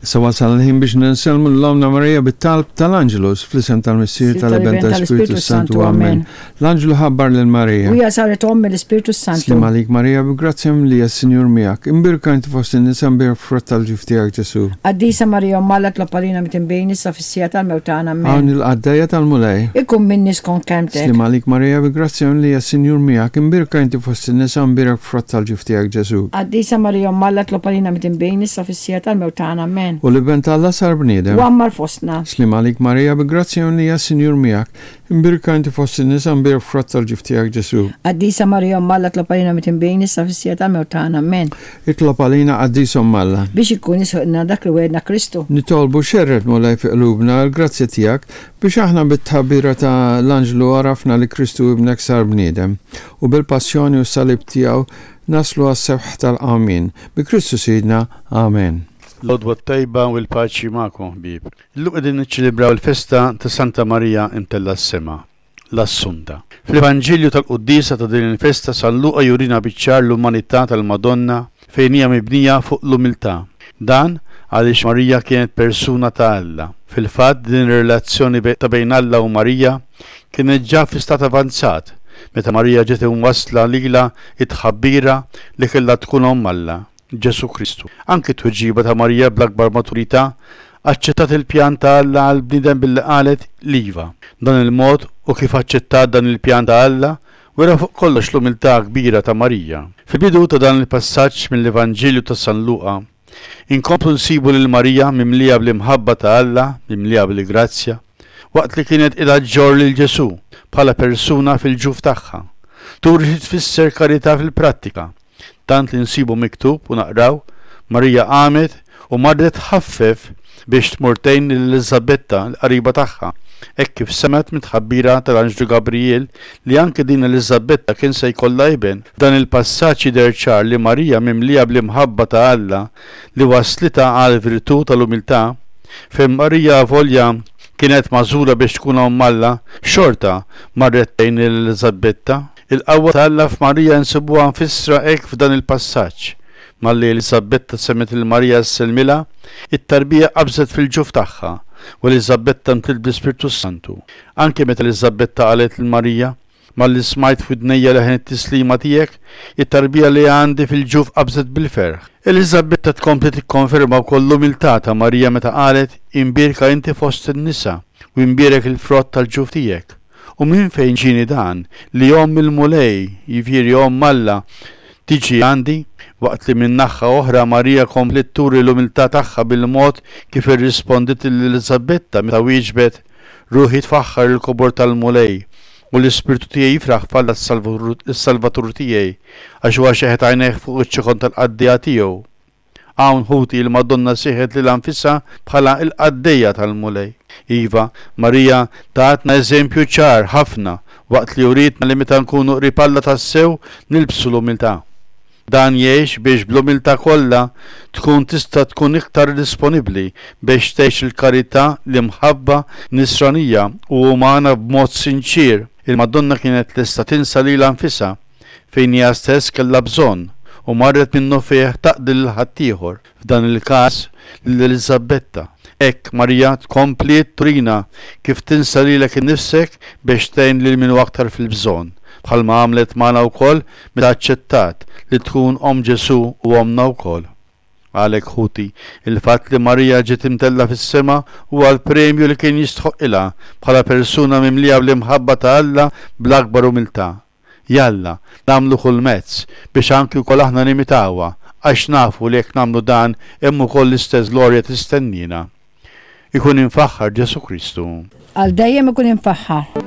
Issa wasal il-ħin biex nsellmu lil Ommna Marija bit-talb tal-Angelus, fl-isem tal-Missier, tal-Iben, tal-Ispirtu Santu. Amen. L-Anġlu ħabbar lil Marija. U hija saret omm mill-Ispirtu Santu. Sliem għalik Marija, bi grazzja mimlija s-Sinjur miegħek. Imbierka inti fost in-nisa mbierek frott tal-ġuf tiegħek Ġesù. Qaddisa Marija Omm Alla tlob għalina mitinbin issa fis-siegħa tal-mewt tagħna. Amen. Hawn il-qaddejja tal-Mulej. Ikun minni skont kelmtek. Sliem għalik Marija, bi grazzja mimlija s-Sinjur miegħek. Imbierka inti fost in-nisa mbierek frott tal-ġuf tiegħek Ġesù. Qaddisa Marija Omm Alla tlob għalina mitinbin issa fis-siegħa tal-mewt tagħna. Amen. U l-Iben t'Alla sar bniedem. U għammar fostna. Sliem għalik Marija, bi grazzja mimlija s-Sinjur miegħek. Imbierka inti fost in-nisa, mbierek frott tal-ġuf tiegħek Ġesù. Qaddisa Marija Omm Alla tlob għalina mitinbin issa fis-siegħa tal-mewt tagħna. Amen. Itlob għalina Qaddisa Omm Alla. Biex ikun jisħoqilna dak li wegħedna Kristu. Nitolbu xerred Mulej fi qlubna l-grazzja tiegħek biex aħna bit-tħabbira ta' l-anġlu għarafna li Kristu Ibnek sar bniedem, u bil-passjoni u s-salib tiegħu naslu għas-sebħ tal-qawmien. Bi Kristu Sidna. Amen. L-għodwa t-tajba u l-paċi magħkom ħbieb. Illum qegħdin niċċelebraw il-festa ta' Santa Marija Imtellgħa s-Sema, l-Assunta. Fl-Evanġelju tal-quddiesa ta' din il-festa San Luqa jurina biċ-ċar l-umanità tal-Madonna fejn hija mibnija fuq l-umiltà. Dan għaliex Marija kienet persuna ta' Alla. Fil-fatt din ir-relazzjoni ta' bejn Alla u Marija kienet ġa fi stat avanzat meta Marija ġiet imwassla lilha t-tħabbira li kellha tkun Omm Alla. Ġesù Kristu. Anki t-tweġiba ta' Marija bl-akbar maturità aċċettat il-pjan ta' Alla għall-bniedem billi qalet l-iva. Dan il-mod u kif aċċettat dan il-pjan ta' Alla wera fuq kollox l-umiltà kbira ta' Marija. Fil-bidu ta' dan il-passaġġ mill-Evanġelju ta' San Luqa, inkomplu nsibu lil Marija mimlija bl-imħabba ta' Alla, mimlija bil-grazzja, waqt li kienet qiegħda ġġorr lil Ġesù bħala persuna fil-ġuf tagħha. Turi xi tfisser karità fil-prattika. Tant li nsibu miktub u naqraw, Marija qamet u marret tħaffef biex tmur tgħin lil Eliżabetta, l-qariba tagħha, hekk kif semgħet mit-tħabbira tal-anġlu Gabrijel li anke din Eliżabetta kien se jkollha iben. F'dan il-passaġġ jidher ċar li Marija mimlija bl-imħabba ta' Alla li wasslitha għall-virtù tal-umiltà, fejn Marija avolja kienet magħżula biex tkun omm Alla, xorta marret tgħin lil Eliżabetta. Il-qawwa ta' Alla f'Marija nsibuha mfissra hekk f'dan il-passaġġ, Malli Eliżabetta semgħet lil Marija ssellmilha, it-tarbija qabżet fil-ġuf tagħha, u Eliżabetta mtliet bl-Ispirtu s-Santu. Anke meta Eliżabetta qalet lil Marija, Malli smajt f'widnejja leħen it-tislima tiegħek, it-tarbija li għandi fil-ġuf qabżet bil-ferħ. Eliżabetta tkompli tikkonferma wkoll l-umiltà ta' Marija meta qalet, Imbierka inti fost in-nisa, u imbierek il-frott tal-ġuf tiegħek. U minn fejn ġieni dan, li omm il-Mulej, jiġifieri omm Alla, tiġi għandi? Waqt li minn naħha oħra Marija kompliet turi l-umiltà tagħha bil-mod kif irrispondiet lil Eliżabetta meta wieġbet, Ruħi tfaħħar il-kobor tal-Mulej, u l-ispirtu tiegħi jifraħ f'Alla s-Salvatur tiegħi, għax huwa xeħet għajnejh fuq iċ-ċokon tal-qaddejja tiegħu. Hawn, ħuti, il-Madonna sejħet lilha nfisha bħala l-qaddejja tal-Mulej. Iva, Marija tatna eżempju ċar ħafna waqt li urietna li meta nkunu qrib Alla tassew nilbsu l-umiltà. Dan jgħix biex bl-umiltà kollha tkun tista' tkun iktar disponibbli biex tgħix il-karità, l-imħabba nisranija u umana b'mod sinċier. Il-Madonna kienet lesta tinsa lilha nfisha fejn hija stess kellha bżonn u marret minnufih taqdi lil ħaddieħor, f'dan il-każ lil Eliżabetta. Hekk, Marija tkompliet turina kif tinsa lilek innifsek biex tgħin lil min hu aktar fil-bżonn, bħalma għamlet magħna wkoll meta aċċettat li tkun omm Ġesù u ommna wkoll. Għalhekk, ħuti, il-fatt li Marija ġiet imtellgħa fis-sema huwa l-premju li kien jistħoqqilha bħala persuna mimlija bl-imħabba ta' Alla bl-akbar umiltà. Jalla, nagħmlu kull mezz biex anki wkoll aħna nimitawha, għax nafu li jekk nagħmlu dan hemm ukoll l-istess glorja tistenniena. Ikun imfaħħar Ġesù Kristu. Għal dejjem ikun imfaħħar.